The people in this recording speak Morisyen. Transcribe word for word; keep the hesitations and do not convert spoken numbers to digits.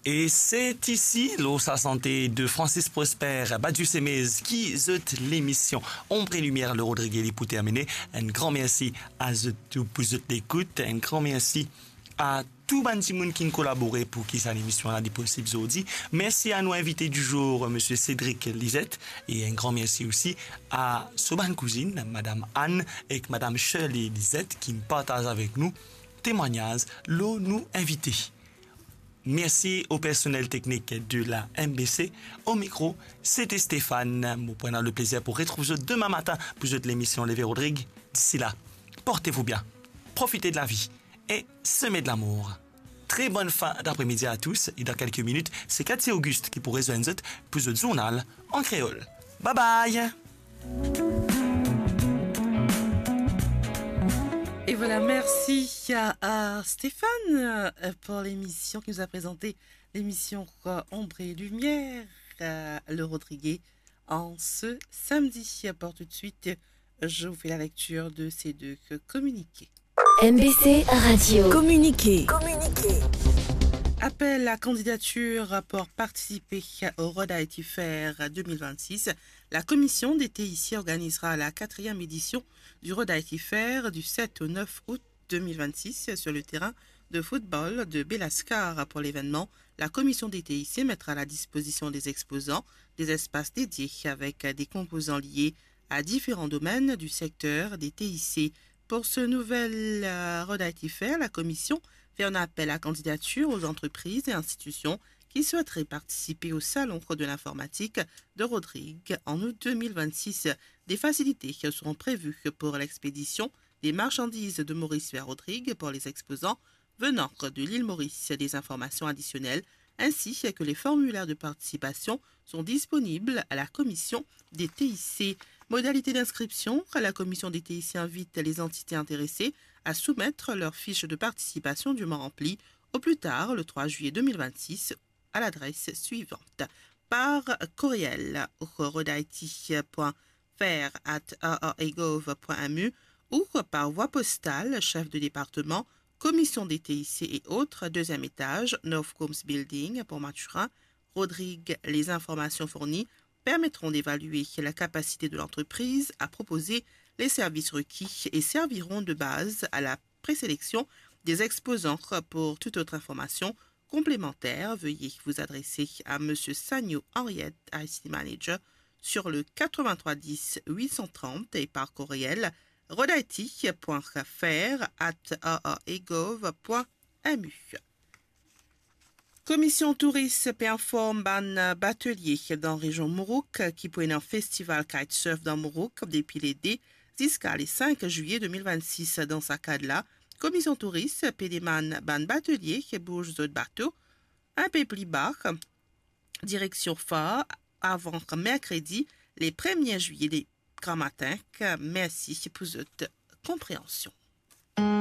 E se isi, lor sa sante de Francis Prosper, Badiou Semez, ki zot lemision Ombre et Lumière, le Rodrigué, li pou termine. Enn gran mersi a zot tou pou zot lekout. Enn gran mersi a tou bann dimoun ki'nn kolabore pou ki sa lemision la li posib zordi. Mersi a nou invite di zour, Misie Cédric Lizette, e enn gran mersi osi a so bann kouzinn, Madam Anne ek Madam Shirley Lizette, ki'nn partaz avek nou temwagnaz lor nou invite. Mersi o personel teknik de la M B C. O mikro, sete Stéphane. Mo pou ena le plezir pou retrouv zot demin matin pou zot lemision Leve Rodrig. D'ici là, portez-vous bien, profitez de la vie et semez de l'amour. Très bonne fin d'après-midi à tous, et dans quelques minutes, c'est Cathy Auguste qui pourrait joindre zot pour zot journal en créole. Bye bye! Et voilà, merci à, à Stéphane, euh, pour l'émission qui nous a présenté l'émission, euh, Ombre et Lumière, euh, le Rodrigué, en ce samedi. Pour tout de suite, je vous fais la lecture de ces deux communiqués. M B C Radio. Communiqué. Apel à candidature pour participer au Road Haïti Fair deux mille vingt-six. La commission des T I C organisera la quatrième édition du Road Haïti Fair du sept au neuf août deux mille vingt-six sur le terrain de football de Belascar. Pour l'événement, la commission des T I C mettra à la disposition des exposants des espaces dédiés avec des composants liés à différents domaines du secteur des T I C. Pour ce nouvel, euh, Road Haïti Fair, la commission fait un appel à candidature aux entreprises et institutions qui souhaiteraient participer au Salon de l'informatique de Rodrigue en août deux mille vingt-six. Des facilités seront prévues pour l'expédition des marchandises de Maurice vers Rodrigue pour les exposants venant de l'île Maurice. Des informations additionnelles ainsi que les formulaires de participation sont disponibles à la commission des T I C. Modalité d'inscription, la commission des T I C invite les entités intéressées à soumettre leur fiche de participation dûment remplie au plus tard le trois juillet deux mille vingt-six à l'adresse suivante. Par courriel au roadhaiti point fair at r r a gov point m u ou par voie postale, chef de département, commission des T I C et autres, deuxième étage, North Combs Building, Port Mathurin, Rodrigue. Les informations fournies permettront d'évaluer la capacité de l'entreprise à proposer les services requis et serviront de base à la présélection des exposants. Pour toute autre information complémentaire, veuillez vous adresser à Monsieur Sagno Henriette, I C T Manager, sur le quatre-vingt-trois dix huit cent trente et par courriel roadhaiti point fair at r r a gov point m u. Komision Touris pe inform bann batelie dan rezion Mourouk ki pou ena festival kitesurf dan Mourouk depi le de ziska le sink zilye de mil vennsis. Dan sa kad la, Komision Touris pe demann bann batelie bouz zot bato inpe pli ba, direksion Far, avan merkredi, le premie zilye de gramatin. Mersi pou zot konpreansion.